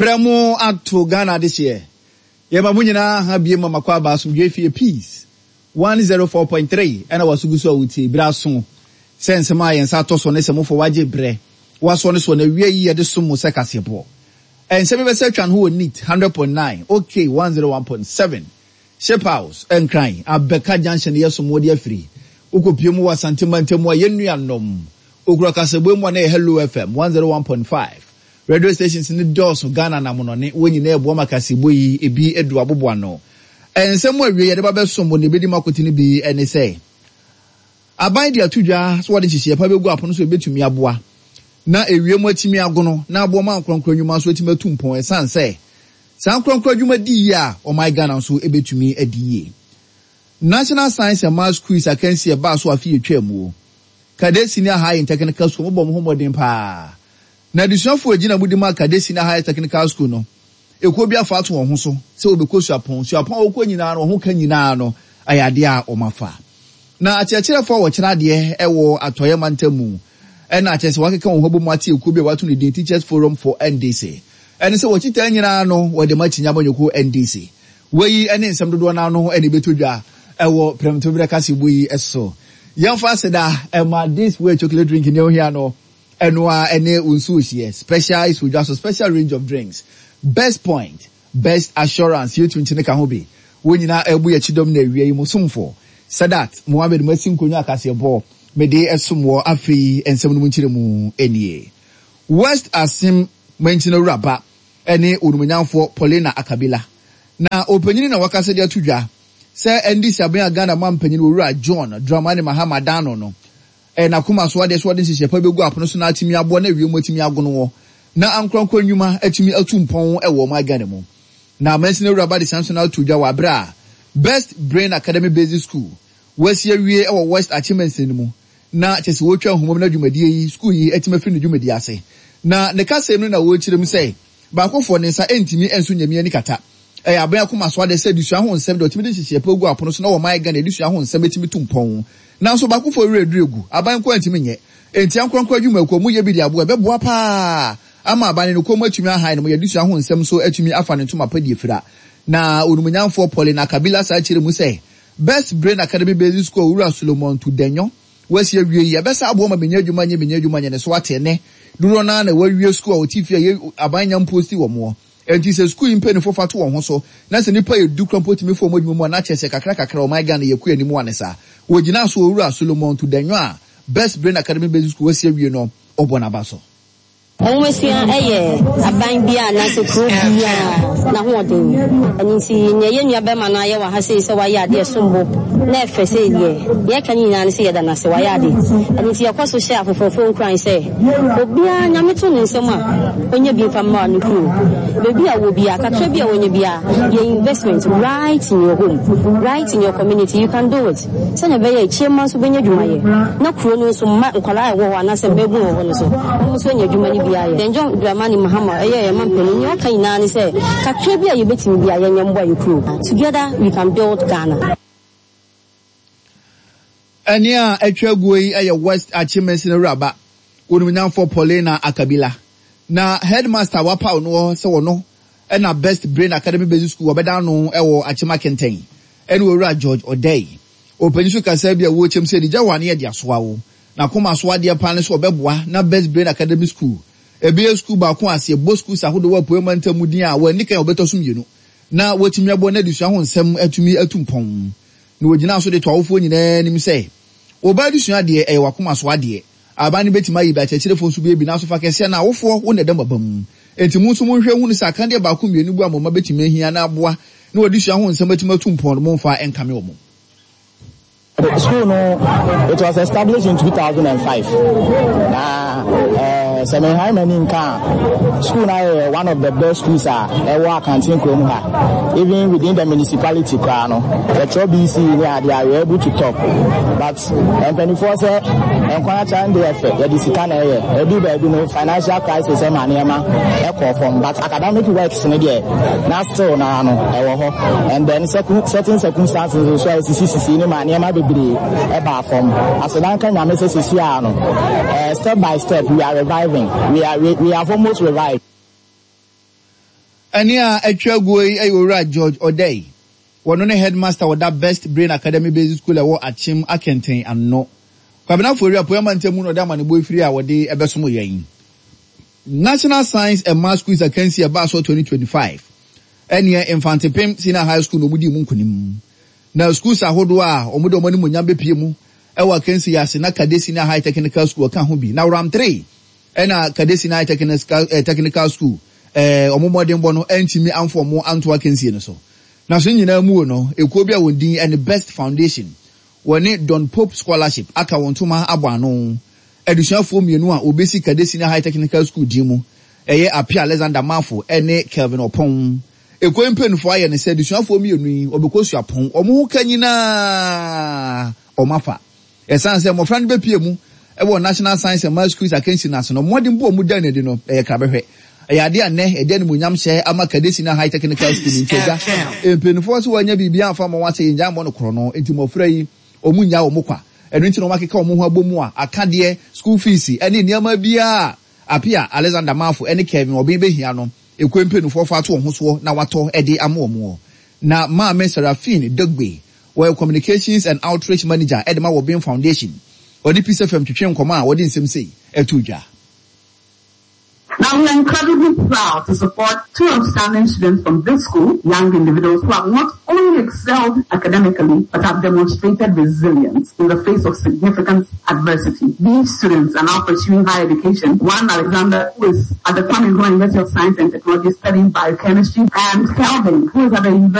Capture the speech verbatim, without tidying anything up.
Prɛmo ato Ghana adehyeɛ. Yɛma mo nyinaa ha bie ma makɔ aba asomdwe fie Peace one zero four point three ɛna wasogu so a wotie berɛ aso sɛ nsɛm a yɛn nsa atɔ so ne sɛ mofo wagye berɛ wasoɔ ne soɔ na awie yi yɛde som mo sɛ kaseɛboɔ. Nsɛm yi bɛsɛ atwa no ho wɔ Neat hundred point nine, OK one zero one point seven, Ship House, Nkran, Abɛka Junction yɛ som wɔde afiri. Wokɔpie mu wɔ Asante mantam a yɛn nuanom okura kasaboe mu a na yɛ Hello F M one zero one point five. Radio stations ne dɔɔso Ghana namonɔne wɔn nyinaa ɛboa ma kaseɛbɔ yi ebi edu aboboa no. Nsɛm awie yɛde ba bɛsom wɔ ne ebedi mu akotene bi ne sɛ aban de ato dwa so wɔde nhyehyɛeɛ pa bɛgu apono so ebetumi aboa na ewiem atumi agono na aboa ma nkorɔnkorɔ nnwuma nso atumi atu mpɔn, ɛsan sɛ saa nkorɔnkorɔ adwuma di yie a, ɔman Ghana nso ebetumi adi yie. National Science and Maths Quiz akansi ɛbaa so afe yɛtwa mu, Kade Senior High and Technical School mobɔ mo ho mmɔden paa na adesuafoɔ gyina mu di ma Kade Senior High Technical School no, ekuo bi afa ato wɔn ho so sɛ wɔbɛkɔ suapɔn suapɔn a wɔkɔ nyinaa no, wɔn ho ka nyinaa no ɛyɛ adeɛ a wɔn afa. Na akyerɛkyerɛfoɔ a wɔkyerɛ adeɛ ɛwɔ Atɔeɛ mantam mu ɛna akyerɛ sɛ wɔakeka wɔn ho bɔ mu ate ekuo bi a wɔato ne din Teachers Forum for N D C, ɛne sɛ wɔkyitaa nyinaa no wɔde ma akyinya abɔnyɔkuo N D C. Wɔyi ɛne nsɛm dodoɔ n'ano ɛna ebɛtɔ dwa ɛwɔ prɛmtoberɛ kaseɛbɔ yi so. Yɛmfa aseda ɛma This Way chocolate drink ne ohia no, ɛno a ɛne nsuo hyeɛ special is wodwa so special range of drinks, Best Point, Best Assurance, yɛtu nkyene ka ho bi. Wɔn nyinaa ɛbu yɛ kyidɔm na awia yi mu somfo Sadat Mohammed masi nkonnwa akaseɛbɔ mede ɛsom wɔ. Afei nsɛm no mu nkyerɛ mu nie: West Asim mankyina wuraba ɛne onumonyamfoɔ Paulina Akabila na ɔpanyin na wakasa de ato dwa sɛ N D C aban a Ghana ma mpanyin Owura John Dramani Mahama dano no ɛyɛ n'akoma so adeɛ so wɔde nhyehyɛ pa bɛgu apono so na atumi aboa na awie mu atumi agono wɔ na ankorankora nnwuma atumi atu mpɔn wɔ ɔman Ghana mu. Na mansini awuraba de san so no ato dwa wɔ abere a Best Brain Academy Basic School wɔasi awie wɔ West Achimansin no mu na kyɛ sɛ wɔtwa nhoma mu no dwumadie yi, school yi atumi afiri ne dwumadie ase. Na ne kasa mu no na wɔrekyerɛ mu sɛ baakofoɔ ne nsa ntumi nso nyamia ni kata ɛyɛ aban akoma so ade sɛ adesua ho nsɛm deɛ ɔtumi de nhyehyɛ pa gu apono so na wɔman Ghana adesua ho nsɛm atumi tu mpɔn, nanso baakofoɔ werɛ aduru egu aban nko antumi nyɛ. Enti ankorankora adwumakuo mu yɛ bi de aboa ɛbɛboa paa ama aban no kɔn mu atumi ahan no mo yɛ adesua ho nsɛm nso atumi afa ne ntoma pa die fira. Na onumonyamfoɔ Paulina Kabila saa kyerɛ mu sɛ Best Brain Academy Basic School Owura Solomon Tudenyo wasi awie yi ɛbɛsa aboa ma menya adwuma nyɛ menya adwuma nyɛ ne so ate ne dodoɔ naa na wawie school a wɔte fie a yɛ aban nya mpost wɔ moɔ. Enti sɛ sukuu yi mpanyinfoɔ fa to wɔn ho so na sɛ nipa yɛ du kura mpo tumi fɔ wɔn adwuma mu a, na kyerɛ sɛ kakra kakra ɔman Ghana yɛ kɔ anim a ne saa wɔgyina so. Owura Solomon Tudenyo a Best Brain Academy Basic School wasi awie no, ɔbɔ n'aba so. Nwomasua yɛ aban bi a anaasɛ kuro bi a n'ahoɔden. Ɛno nti nea yɛn nua bɛrima no ayɛ wɔ ha sei sɛ wayɛ adeɛ sombo na ɛfɛ sɛ deɛ yɛka no nyinaa no sɛ yɛda no ase, wayɛ ade. Ɛno nti yɛkɔ so hyɛ afoforɔfoɔ nkuran sɛ obiara Nyame to ne nsɛm a ɔnyɛ bi mfa mma no kuro baabi a wɔ biara, kakra bi a wɔnyɛ biara yɛ investment right in your home, right in your community. You can do it sɛnea ɛbɛyɛ akyie mma nso bɛnya adwumayɛ na kuro no nso mma nkwadaa a ɛwɔ hɔ anaasɛ mmabun wɔ hɔ no so wɔn nso anya adwuma no bi ayɛ. Yɛn John Dramani Mahama ɛyɛ yɛn ma mpanin nea ɔka nyinaa ne sɛ kakra bi a yɛbɛtumi bi a yɛnyɛ mboa yɛ kuro. Together we can build Ghana. Ɛne a atwa aguo yi yɛ West Achimansin awuraba onumnyamfoɔ Paulina Akabila na headmaster wapaw no sɛ wɔno ɛna Best Brain Academy Basic School wɔbɛda no ɛwɔ Akyema Kɛntɛn ɛne Owura George Ɔdɛi. Ɔpanyin so kasa bi a wɔrekyɛm sɛ adigya wɔ ne yɛde asoa wo na kɔma so adeɛ paa ne so ɔbɛboa na Best Brain Academy School ebien school baako ase ɛbɔ schools ahodoɔ wɔ Apuei mantam mu din a wɔani kan a wɔbɛtɔ so mmienu na wɔatumi abɔ n'adesua ho nsɛm atumi atu mpɔn. Na wɔgyina so de to awofoɔ nyinaa anim sɛ wɔba adesua deɛ ɛyɛ wakoma so adeɛ, aban no bɛtumi ayi bi, akyerɛkyerɛfoɔ nso bɛyɛ bi, nanso fa kɛseɛ na awofoɔ wo na ɛda mo aba mu. Enti mo nso monhwɛ hunu sɛ akadeɛ baako mmienu bu a mo mma bɛtumi ahia na aboa na wɔde sua ho nsɛm atumi atu mpɔn no, momfa nkame wɔ mo. The school no, it was established in two thousand five. Na eh, sɛ menhae m'ani nka a, school no ayɛ one of the best schools a ɛwɔ Akanten kurom ha. Even within the municipality koraa no, yɛtwerɛ B C ne adeɛ a, we able to top. But mpanimfoɔ sɛ nkwan akyɛ no deɛ ɛfɛ, yɛde sika na ɛyɛ. Ɛdu baabi no, financial crisis ɛma nneɛma ɛkɔ fam. But academic works no deɛ, na still na no ɛwɔ hɔ. And then certain circumstances nso a esisi sisi ne ma nneɛma bebree ɛba fam. Asedanka Nyame sɛ sisi a no, uh, step by step we are reviving. We are we, we have almost revived. Ɛne a atwa aguo yi yɛ Owura George Odei. Wɔno ne headmaster wɔda Best Brain Academy Basic School ɛwɔ Akyem Akɛntɛn ano. Kwabena Fori Apoyama ntamu na ɔde amanebɔ efiri a wɔde ɛbɛsom yɛn. National Science and Maths Quiz akansi ɛbaa so twenty twenty-five, ɛneɛ Mfantepem Senior High School na wɔn di mu nkunim. Na schools ahodoɔ a wɔn de wɔn animuonyam bɛpie mu ɛwɔ akansi yi ase na Kade Senior High Technical School ɔka ho bi. Na round three ɛna Kade Senior High Technical, eh, Technical School ɛɛ wɔn mmɔdenbɔ no ɛntumi amfo wɔn anto akansie no so. Na so nyinaa mu no, ekuo bi a wɔn din ɛne Best Foundation, wɔne Don Pope Scholarship aka wɔn ntoma abɔ ano. Adusuafoɔ mmienu a wɔbɛsi Kade Senior High Technical School din mu ɛyɛ Apia Alexander Mafo ɛne Kelvin Ɔpɔn. Ekuo mpanimfoɔ ayɛ ne sɛ adusuafoɔ mmienu yi wɔbɛkɔ suapɔn, wɔn ho ka nyinaa wɔn afa. Ɛsan sɛ mmɔfra no bɛpie mu ɛwɔ National Science and Maths Quiz akansi no ase no, mmɔden bo a wɔn da n'adi no ɛyɛ krabɛhwɛ. Ɛyɛ adeɛ a nnɛ ɛde animuonyam hyɛ ama Kade Senior High Technical School. Nti agya mpanimfoɔ sɛ wɔanya biribi amfa ma wɔn asɛ yɛn gya mmɔ no korɔ no, nti mmɔfra yi wɔn nya wɔn kwa. Ɛno nti na wɔn akeka wɔn ho abɔ mu a akadeɛ, school fees ɛne nneɛma biara Apia Alexander Mafo ɛne Kevin Ɔbɛn bɛhia no, ekuo mpanimfoɔ fa ato wɔn ho soɔ na watɔ ɛde ama wɔn wɔ. Na Maame Seraphine Dogbe, wɔyɛ communications and outreach manager ɛde ma Wɔbɛn Foundation, ɔde Peace F M twitwe nkɔmɔ a wɔde nsɛm sei ɛto dwa. Now, we are incredibly proud to support two outstanding students from this school, young individuals who have not only excelled academically, but have demonstrated resilience in the face of significant adversity. These students are now pursuing higher education. One, Alexander, who is at the Kwame Nkrumah University of Science and Technology studying biochemistry, and Kelvin, who is at the University